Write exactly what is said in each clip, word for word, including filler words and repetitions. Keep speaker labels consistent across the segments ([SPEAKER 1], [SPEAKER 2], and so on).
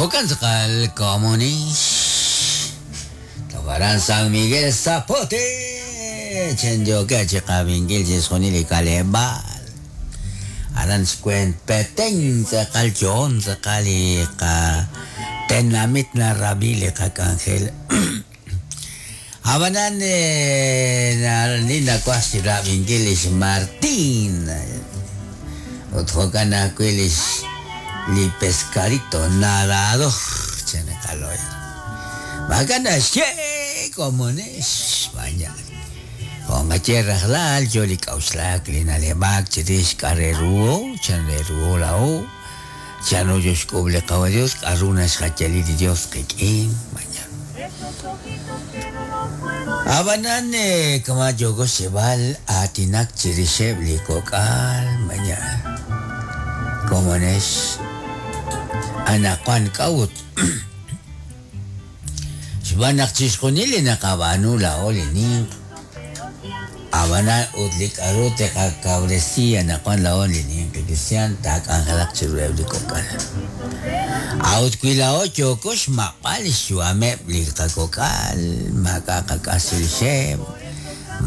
[SPEAKER 1] Jo'kan tz'aqal komonix Tojaran San Miguel Zapote chenyoke chiqab'inkil chixjunil li k'aleb'aal aran xkwent Petén tz'aqal yo'on tz'aqal li qatenamit narab'i li qak'anjel Abanan ni nakuaj xrab'inkil lix Martín ut jo'kan ajwi' lix li pescadito nadador chenekaloy B'akan naxye komonix España Jo'nqaye rajlal yo li k'auxlak li naleb'ak chirix k'areruo chanreruo la'o chanru yo xk'ub' li qawa Dios k'aru naxjayali li Dios qik'in mañana Abanan kama yoko xeb'al aatinak chirixeb' li kok'al mañana komonex anaqwan k'a'ut xb'aan naq chixjunil li naqab'aanu la'o li ninq abanan ut li k'aru teqakawresi anaqwan la'o li ninq cristian taak'anjelaq chiruheb' li kok'al a'ut wi la'o yooko xmaq'b'al xyu'ameb' li qakok'al maak'a' qak'as chirixeb'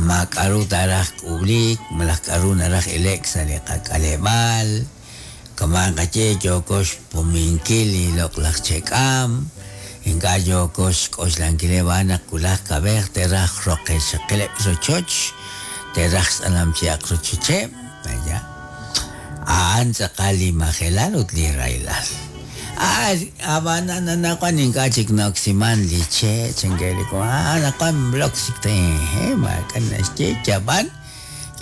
[SPEAKER 1] ma k'aru taaraj k'ub'lik malaj k'aru naraj ilek sa' li qak'aleb'aal kama nqaye yooko xpuminkil li loq'laj chek'am ink'a' yooko xk'oxlankileb' a'an naq wulaj kab'ej te'raj roqexaqileb' rochoch te'raj xtz'alamchi'aq rochocheb' vaya a'an tz'aqal li majelal ut li rahilal ah ab'anan anaqwan ink'a' chik na'oksiman li che' chankeliko ah anaqwan blok chik te maak'a' naxye yab'an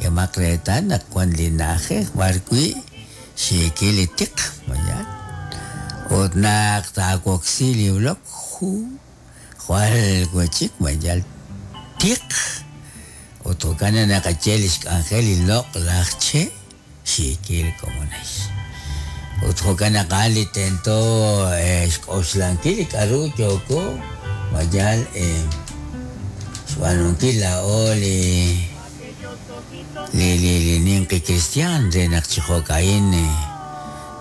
[SPEAKER 1] k'emaq reetal naq wan li na'ajej b'ar wi' xiikil li tiq vaya ut naq taawoksi li blok ju jwal wachik vaya tiq ut jo'kan naqaye li xk'anjel li loq'laj che' xiikil komonex ut jo'kan naq a'an li tento xk'oxlankil li k'aru yooko vayal xb'aanunkil la'o li li li li ninqi cristian re naq chi jo'ka'in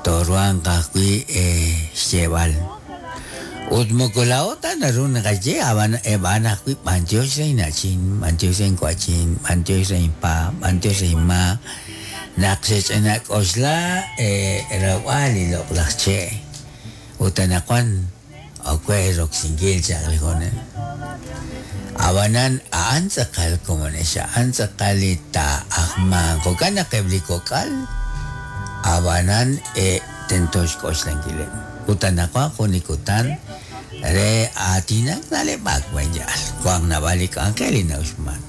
[SPEAKER 1] toruanq ajwi' xyeeb'al ut moko la'o ta naru naqaye ab'an eb'an ajwi' b'antiox re ina'chin b'antiox re inkua'chin b'antiox re inpa b'antiox re inma naq xech'inak'oxla rawb'al li loq'laj che' ut anaqwan okwe roksinkil chaq li jo'ne abanan a'an tz'aqal komonex a'an tz'aqal li taa'ajman jo'kan naq eb' li kok'al abanan tento xk'oxlankileb' ut anaqwan jun li kutan re aatinak na'leb'ak vayal wank naab'al li k'anjel li na'uxman